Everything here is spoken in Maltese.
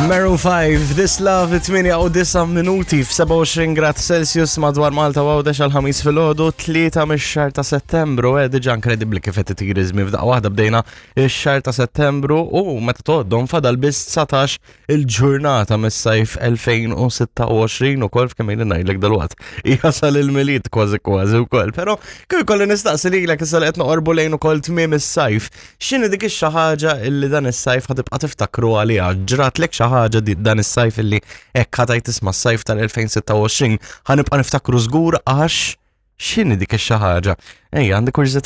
Maroon 5, This Love, 8 u 9 minuti f-27 grad Celsius madwar Malta u Għawdex għal-ħamis fil-ħodu, 3 mix-xahar ta' Settembru, eh, diġa inkredibli kif qed itir iż-żmien f'daqqa waħda bdejna ix-xahar ta' Settembru u meta tgħoddhom fadal biss 19 il-ġurnata mis-sajf 2026 ukoll f'kemm ili ngħidlek dalwaqt. Jasal il-Milied kważi kważi wkoll, però kif ikolli nistaqsi lilek issa li qed noqorbu lejn ukoll tmiem is-sajf, x'inhi dik ix-xi ħaġa illi dan is-sajf ħa tibqa' tiftakru għaliha? Ġratlek xi ħaġa dan is-sajf illi hekk ħa tgħid isma' s-sajf tal-2026 ħa nibqa' niftakru żgur għax x'inhi dik ix-xi ħaġa? Ejja, għandi kurżità.